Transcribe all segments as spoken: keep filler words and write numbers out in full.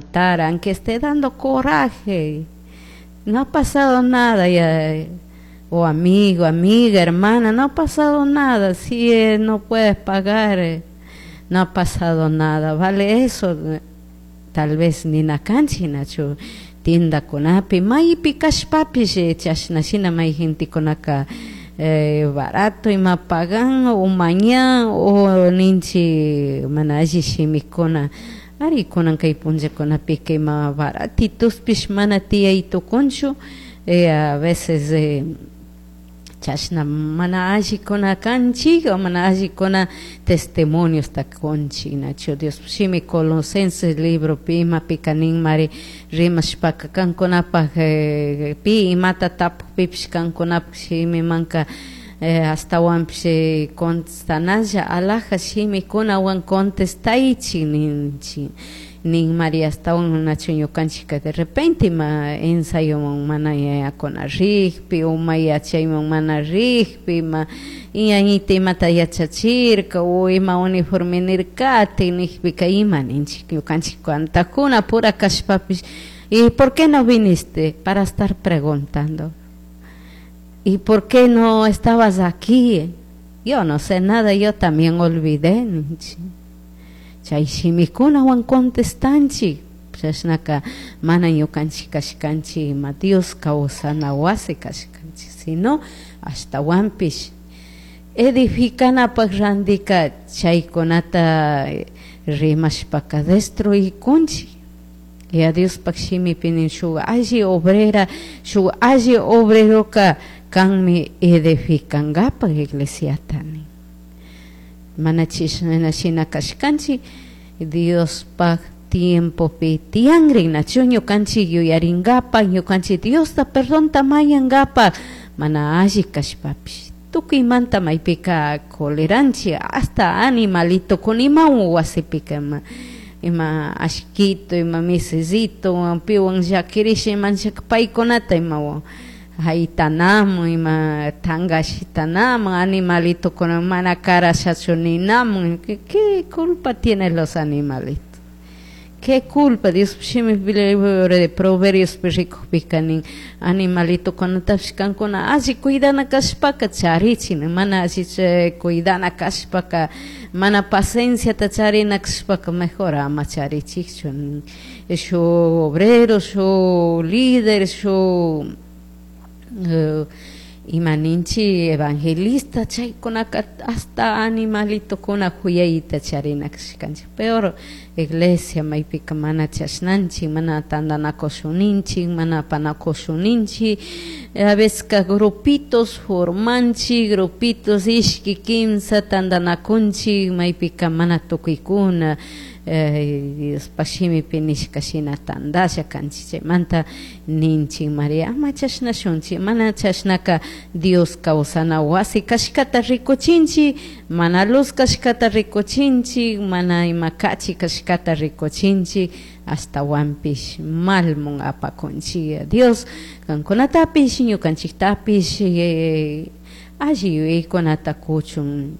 Faltar, aunque esté dando coraje. No ha pasado nada ya. O amigo, amiga, hermana, no ha pasado nada. Si eh, no puedes pagar, eh, no ha pasado nada. Vale eso, tal vez nina kanchik, nachu tiendakunapi maypi kashpapish chashna shina may gentekunaka eh, barato ima pagan o mañan o ninchi mana alli shimikuna. Ari kunan kay punllakunapika ima baratitospish mana tiyay tukunchu, eh, a veces eh, chashna mana allikuna kanchik o mana allikuna testimoniosta kunchik, nachu? Dios shimi Colosenses libropi imapika ninmari rimashpaka kankunapaj eh, pi imata tapukpipish kankunapak shimimanka eh, ashtawanpish eh, contestanalla alaja shimikunawan contestaychik ninchik ninmari. Ashtawan nachu ñukanchika de repente ima ensayoman mana yayakuna rikpi o may yachayman mana rikpi, ima ñañita imata yachachirka o ima uniforme nirkati nikpika, ima ninchik ñukanchik kantakuna pura kashpapish? ¿Y por qué no viniste? Para estar preguntando. ¿Y por qué no estabas aquí? Yo no sé nada, yo también olvidé. Chay shimikunawan contestanchik. Chashnaka mana ñukanchik kashkanchik ima Dios kawsana wasi kashkanchik, sino ashtawanpish edificanapak randika chaykunata rimashpaka destruikunchik. Y a Diospak shimipi nin shuk alli obrera, shuk alli obreroka kanmi edificangapak iglesiata nin. Mana chishna shina kashkanchik Diospak tiempopi tiyanrin, nachu ñukanchik yuyaringapak, ñukanchik Diosta perdonta mañangapak mana alli kashpapish tukuymanta maypika coleranchik hasta animalito kunimawan wasipika ima ima ashkito, ima misisito piwan llakirisha imanchaka paykunata ima haytanamun, ima tankashitanamun animalitokuna mana karashachu ninamun. ¿Qué culpa tienen los animalitos? ¿Qué culpa? Dios shimi libro de Proverbios rikukpika nin animalitokunatapish kankuna alli cuidana kashpaka charichi, mana alli cuidana kashpaka, mana pacienciata charina kashpaka mejor ama charichikchu. Shuk obrero, shuk líder, shuk uh, ima ninchi evangelista, chaykunaka hasta animalitokuna huyayta charina kashkanchik. Peor iglesia maypika mana chashnanchik, mana tantanakushuninchik, mana apanakushuninchik. A veces grupitos formanchik, grupitos ishki kimsa tantanakunchik maypika mana tukuykuna eh, Diospak shimipi nishka shina tandasha kanchik. Chaymanta ninchik Maria ama chashnashunchik. Mana chashnaka Dios kawsana wasi kashkata rikuchinchik, mana luz kashkata rikuchinchik, mana ima kachi kashkata rikuchinchik, ashtawanpish malmun apakunchik. Dios kankunatapish ñukanchiktapish eh, alli yuyaykunata kuchun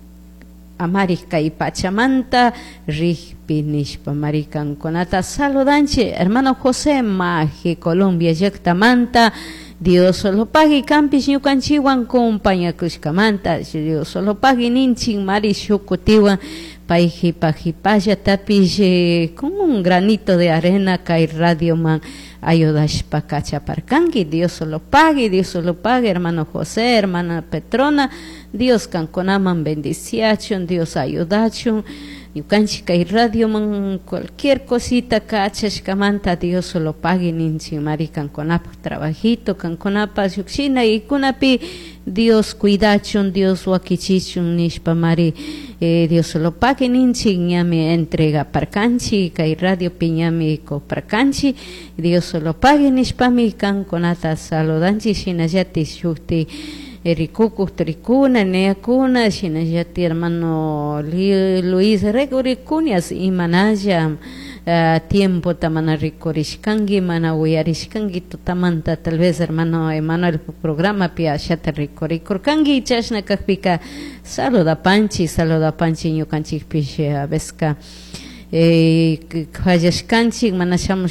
amari kay pachamanta rikpi nishpa mari kankunata saludanchik. Hermano José Maje, Colombia llaktamanta, Dios lo pague kanpish ñukanchikwan compañakushkamanta. Dios lo pague ninchik mari shukutiwan pay jipa jipallatapish eh, con un granito de arena kay radioman ayudashpa kachaparkanki. Dios lo pague, Dios lo pague, hermano José, hermana Petrona. Dios kankunaman bendiciachun, Dios ayudachun. Ñukanchik kay radioman cualquier cosita kachashkamanta Dios lo pague ninchik mari kankunapak trabajito, kankunapak shukshina ikunapi Dios cuidachun, Dios wakichichun nishpa mari eh, Dios lo pague ninchik. Ñami entrega parkanchik kay radiopi, ñami coparkanchik. Dios lo pague nishpami kankunata saludanchik. Shinallatik shukti rikukuk rikuna neakuna, shinallatik hermano Luis rikurikunias imanalla uh, tiempota mana rikurishkanki, mana uyarishkanki tutamanta, tal vez hermano Emanuel programapi ashata rikurikurkanki. Chashna kakpika saludapanchik, saludapanchik. Ñukanchikpish a veces eh, fallashkanchik mana shamush.